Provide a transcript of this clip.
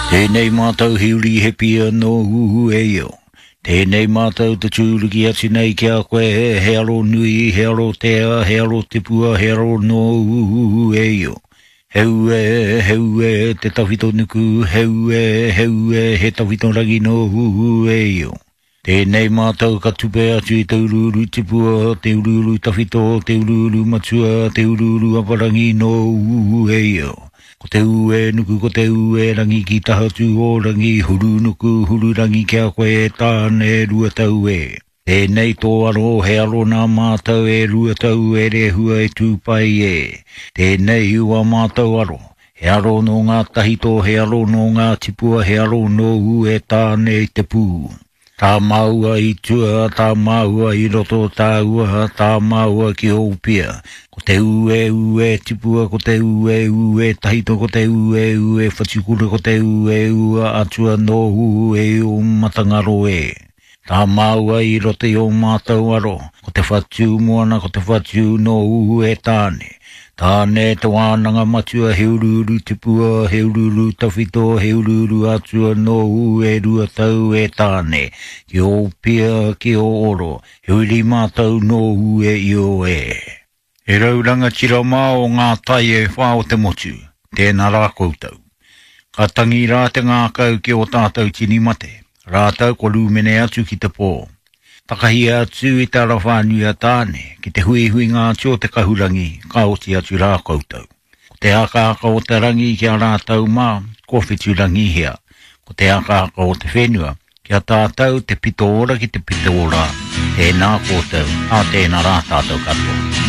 Tēnei mātou he uri he pia nō Ueio. Tēnei mātou te tūruki atu nei ki a koe, he aro nui, he aro tea, he aro tipua, he aro nō Ueio. He ue, he ue, te tawhito nuku, he ue, he ue, he tawhito rangi nō Ueio. Tēnei mātou ka tupe atu i te uruuru tipua, te uruuru tawhito, te uruuru matua, te uruuru aparangi nō Ueio. Ko te ue nuku, ko te ue rangi ki tahatū o rangi, huru nuku, huru rangi ki a koe e Tāne, Ruatau e. Tēnei tō aro, he aro nā mātou e Ruatau e Rehua e Tūpai e. Tēnei ua mātou aro, He aro nō ngā tahito, he aro nō ngā tipua, he aro nōu e Tāne i te pū. Tā māua i tua, tā māua i roto, tāua, tā māua ki Ōpia. Ko te ue, ue tipua, ko te ue, ue tahito, ko te ue, ue whatukura, ko te ue, ua atua nōu e ō matangaro e. Tā māua i roto i ō mātou aro, ko te whatū moana, ko te whatū nō Uhu e Tāne. Tāne te wānanga matua, he uruuru tipua, he uruuru tawhito, he uruuru atua nō Uhu e Ruatau e Tāne, ki ō pia, ki ō oro, he uri mātou nō Uhu e Io e. He rau rangatira mā o ngā tai e whā o te motu, tēnā rā koutou. Ka tangi rā te ngākau ki ō tātou tini mate, rātou kua rūmene atu ki te pō. Takahia atu i te ara whānui a Tāne, ki te huihuinga atu o te kahurangi, ka oti atu rā koutou. Ko te akaaka o te rangi ki a rātou mā, kua whiturangihia. Ko te akaaka o te whenua, ki a tātou te pito ora ki te pito ora, tēnā koutou, ā tēnā rā tātou katoa.